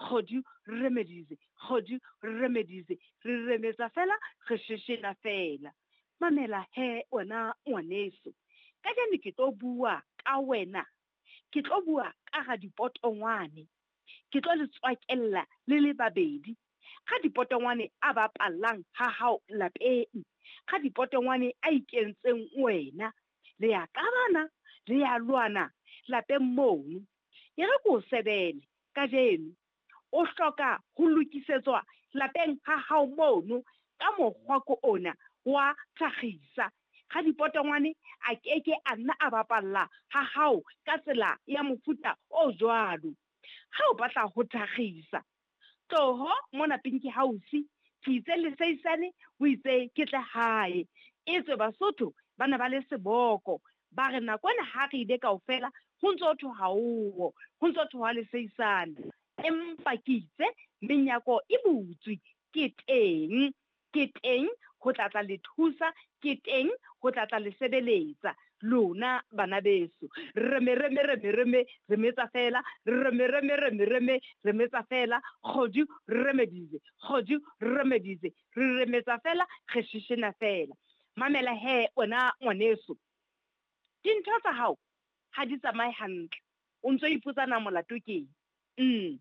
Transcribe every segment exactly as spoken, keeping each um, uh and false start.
Kgodu Remedies, Kgodu Remedies, re remetsa fela, re sheshena fela. Mamela he wena ngwaneso, kajeno ke tlo bua ka wena, ke tlo bua ka ga dipotongwane, ke tlo le tswakella le le babedi. Ga dipotongwane a bapallang ha hao lapeng, ga dipotongwane a ikentseng wena, le ya qabana, le ya lwana lapeng mono. E re ko sebele kajeno, o hloka ho lokisetswa lapeng ha hao mono ka mokgwa ko ona wa thakgisa. Ga dipotongwane a keke a nna a bapalla ha hao ka tsela ya mofuta o jwalo. Ha o batla ho thakgisa, tloho mona Pinky House, ke itse leseisane, o itse ke tle hae. Etswe Basotho ba ne ba le seboko, ba re nako ena ha re ile kaofela ho ntso thwe ha owo, ho ntso thwe ha leseisane. Empa ke itse menyako e butswe, ke teng, ke teng ho tla tla le thusa, ke teng ho tla tla le sebeletsa lona bana beso. Reme reme reme reme, re metsa fela, reme reme reme reme, re metsa fela. Kgodu Remedies, Kgodu Remedies, re remetsa fela, re sheshena fela. Mamela he wena ngwaneso, dintho tsa hao ha di tsamaye hantle, o ntso ipotsa na molato keng? Mm.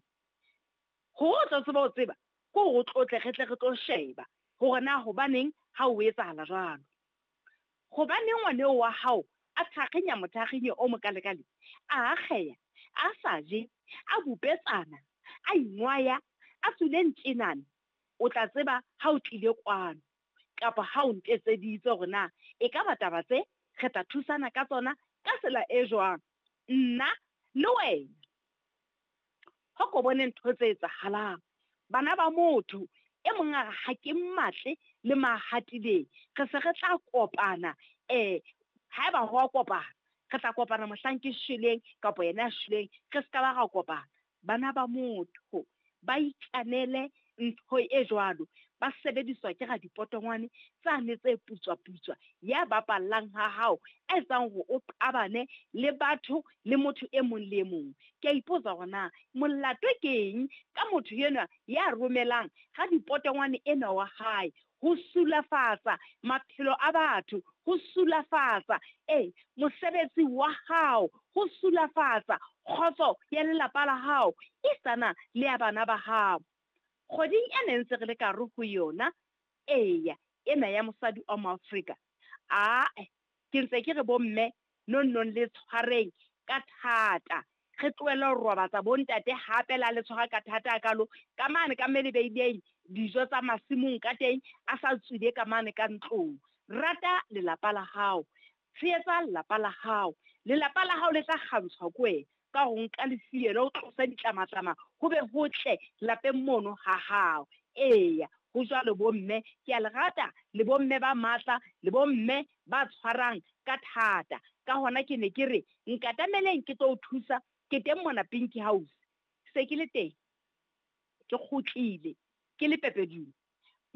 Hore o tlo tseba ho tseba, ke hore o tlotle re tle re tlo sheba hore na hobaneng ha o etsahala jwalo. Hobaneng ngwaneo wa hao a thakgenya mothakgenyo o mokalekale, a akgeya, a sa je, a bupetsana, a ingwaya, a tswile ntjenana, o tla tseba ha o tlile kwano kapa ha o ntetseditse hore na e ka ba taba tse re tla thusana ka tsona ka tsela e jwang, nna le wena. Ho ko bone ntho tse etsahalang, bana ba motho e mong a re ha ke mmatle le mahatileng, re se re tla kopana, eh haeba ho a kopana, re tla kopana mohlang ke shweleng kapa yena a shweleng, re ska ba ra kopana. Bana ba motho ba ikanele ntho e jwalo, ba sebediswa ke radipotongwane tsane tse putswa-putswa, ya bapallang ha hao, a etsang hore o qabane le batho le motho e mong le e mong. Ke a ipotsa hore na molato ke eng ka motho enwa ya romelang radipotongwane enwa wa hae ho sulafatsa maphelo a batho, ho sulafatsa eh mosebetsi wa hao, ho sulafatsa kgotso ya lelapa la hao, isana le ya bana ba hao. Kgweding ena ntse re le ka hare ho yona, eya, ena ya mosadi wa Moafrika, ae, ke ntse ke re bomme nonnong le tshwareng ka thata, re tlohelle ho robatsa bontate hape la le tshwara ka thata hakalo, ka mane ka mme le beileng dijo tsa masimong ka teng, a sa tswile ka mane ka ntlong. Rata lelapa la hao, tshehetsa lelapa la hao, lelapa la hao le tla kgantshwa ke wena ka ho nka lefielo, o tlose ditlamatlama, ho be hotle lapeng mono ha hao. Eya, ho jwalo bomme, ke a le rata le bomme ba matla, le bomme ba tshwarang ka thata. Ka hona ke ne ke re nkatameleng ke tlo o thusa, ke teng mona Pinky House. Se ke le teng, ke kgutlile, ke le pepedung.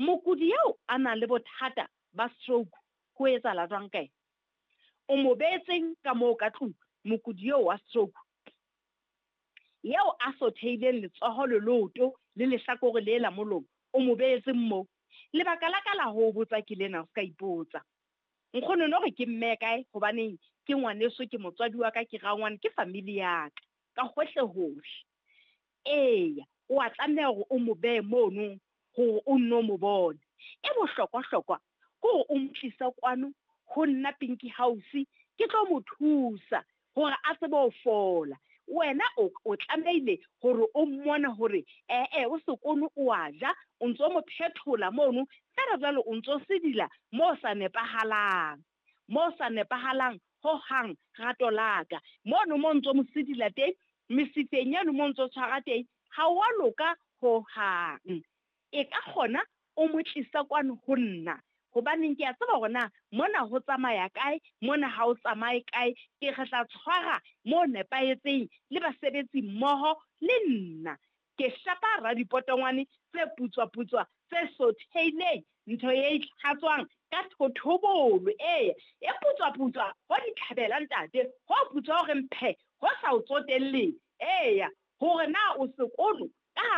Mokudi eo a nang le bothata ba stroke, ho etsahala jwang ka yena? O mo beetseng ka moo ka tlung, mokudi eo wa stroke, eo a sotheileng letsoho le leoto le lehlakore le la molomo, o mo beetseng moo. Lebaka la ka la ho botsa ke lena, o ska ipotsa. Nkgono no re ke mme kae, hobaneng ke ngwaneso, ke motswadi wa ka, ke rangwane, ke family ya ka, ka hohle hohle. Eya, o a tlameha hore o mo behe mono hore o nno mo bone. E bohlokwa-hlokwa ke hore o mo tlise kwano ho nna Pinky House, ke tlo mo thusa hore a tsebe ho fola. Wena o, o tlamehile hore o mmone hore eh-eh o sekono o a ja, o ntso mo phethola mono, feela jwale o ntso sedila mo sa nepahalang, mo sa nepahalang hohang rato la ka. Mono mo ntso mo sedila teng, mesifeng eno mo ntso tshwara teng, ha wa loka hohang. E ka kgona o mo tlisa kwano ho nna, hobaneng ke a tseba hore na mona ho tsamaya kae, mona ha o tsamaye kae, ke re tla tshwara mo nepahetseng le basebetsi mmoho le nna. Ke shapa radipotongwane tse putswa-putswa tse sotheileng, ntho e itlhatswang ka thothobolo, eya, e putswa-putswa ho ditlhabela ntate, ho putswa hore mphe, ho sa o tsotelleng, eya, hore na o sekolo